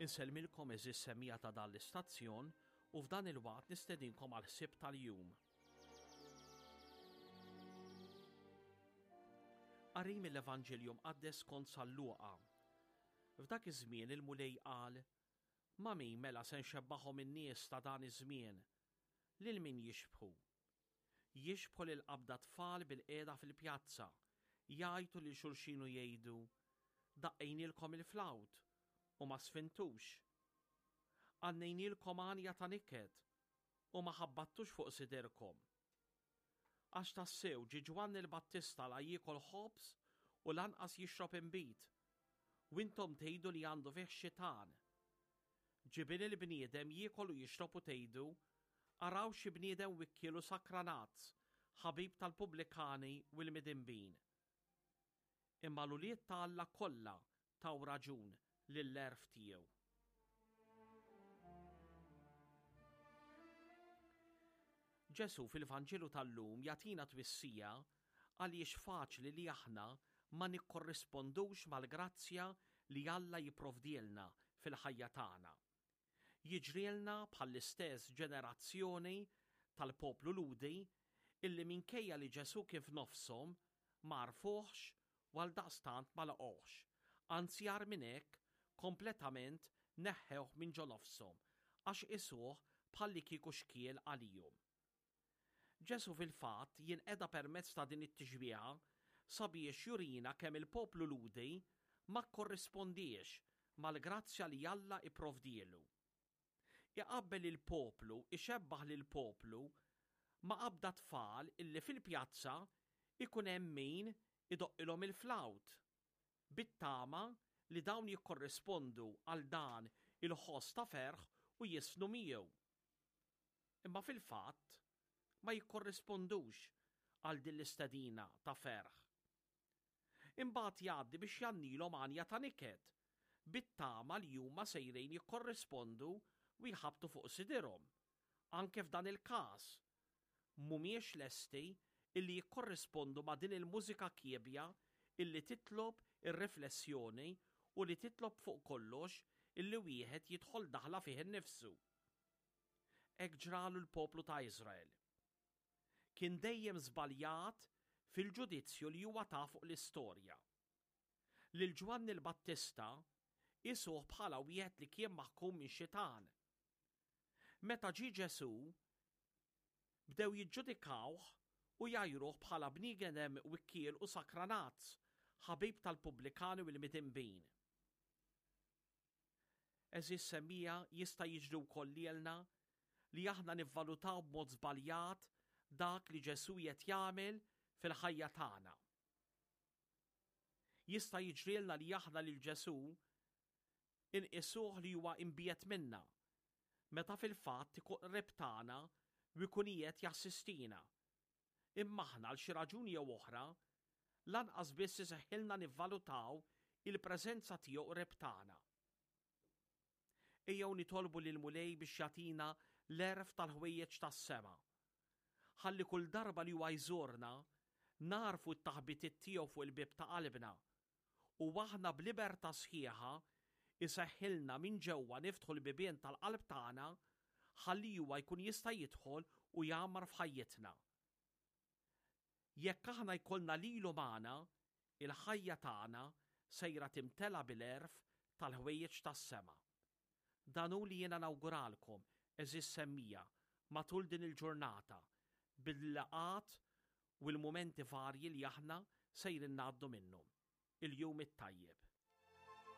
Insellmilkom għeżież semmiegħa ta' dan l-istazzjon u f'dan il-waqt nistedinkom għal ħsieb tal-jum. Qari mill-Evanġelju Mqaddes skont San Luqa. F'dak iż-żmien il-Mulej qal, Ma' min mela se nxebbahhom in-nies ta' dan iż-żmien? Lil min jixbħu? Jixbħu lil qabda tfal bilqiegħda fil-pjazza, jgħajtu lil xulxin u jgħidu, 'Daqqejnielkom il-flawt, u ma sfintux. Għannejnielkom għanja ta' niket, u ma ħabbattux fuq sidirkom. Għax tassew ġie Ġwanni l-Battista la jiekol ħobż u lanqas jixrob inbid, u intom tgħidu li għandu fih xitan. Ġie Bin il-bniedem jiekol u jixrob u tgħidu, 'Araw xi bniedem wikkiel u sakranazz, ħabib tal-pubblikani u l-midinbin. Imma l-ulied ta' Alla kollha taw raġun lill-għerf tiegħu. Ġesù fil-Vanġelu tal-lum jagħtina twissija għaliex faċli li aħna ma nikkorrispondux mal-grazzja li Alla jipprovdielna fil-ħajja tagħna. Jiġrielna bħall-istess ġenerazzjoni tal-poplu Lhudi illi minkejja li Ġesù kien f'nofshom, ma għarfuhx u għaldaqstant ma laqgħuhx, anzi agħar minn hekk, kompletament neħħewh minn ġo nofshom għax qisuh bħallikieku xkiel għalihom. Ġesù fil-fatt jinqeda permezz ta' din it-tixbiha sabiex jurina kemm il-poplu Lhudi ma kkorrispondiex mal-grazzja li Alla ipprovdielu. Iqabbel il-poplu, ixebbah lill-poplu ma' qabda tfal illi fil-pjazza ikun hemm min idoqqilhom il-flawt, bit-tama li dawn jikkorrispondu għal dan il-ħoss ta' ferħ u jiżfnu miegħu. Imma fil-fatt ma jikkorrispondux għal din l-istedina ta' ferħ. Imbagħad jgħaddi biex jgħannilhom għanja ta' niket, bit-tama li huma sejrin jikkorrispondu u jħabbtu fuq sidirhom. Anke f'dan il-każ, mhumiex lesti illi jikkorrispondu ma' din il-mużika kiebja illi titlob ir-riflessjoni u li titlob fuq kollox illi wieħed jidħol daħla fih innifsu. Hekk ġralu l-poplu ta' Iżrael. Kien dejjem żbaljat fil-ġudizzju li huwa ta fuq l-istorja. Lil Ġwanni l-Battista qisuh bħala wieħed li kien maħkum minn xitan. Meta ġie Ġesù, bdew jiġġudikawh u jgħajruh bħala bniedem wikkiel u sakranazz, ħabib tal-pubblikani u l-midinbin. Għeżież semmiegħa, jista' jiġri wkoll lilna li aħna nivvalutaw b'mod żbaljat dak li Ġesù qiegħed jagħmel fil-ħajja tagħna. Jista' jiġrilna li aħna lil Ġesù inqisuh li huwa imbiegħed minna, meta fil-fatt ikun qrib tagħna u jkun qiegħed jassistina. Imma aħna għal xi raġuni jew oħra, lanqas biss iseħħilna nivvalutaw il-preżenza tiegħu qrib tagħna. Ejjew nitolbu lill-Mulej biex jagħtina l-għerf tal-ħwejjeġ tas-sema. Ħalli kull darba li huwa jżurna, nagħrfu t-taħbitiet tiegħu fuq il-bieb ta' qalbna u aħna b'libertà sħiħa jseħħilna minn ġewwa niftħu l-bibien tal-qalb tagħna ħalli huwa jkun jista' jidħol u jgħammar f'ħajjitna. Jekk aħna jkollna lilu magħna, il-ħajja tagħna sejra timtela bil-għerf tal-ħwejjeġ tas-sema. Dan hu li jiena nawguralkom, għeżież semmiegħa, matul din il-ġurnata, bil-laqgħat u l-mumenti varji li aħna sejrin ngħaddu minnhom. Il-jum it-tajjeb.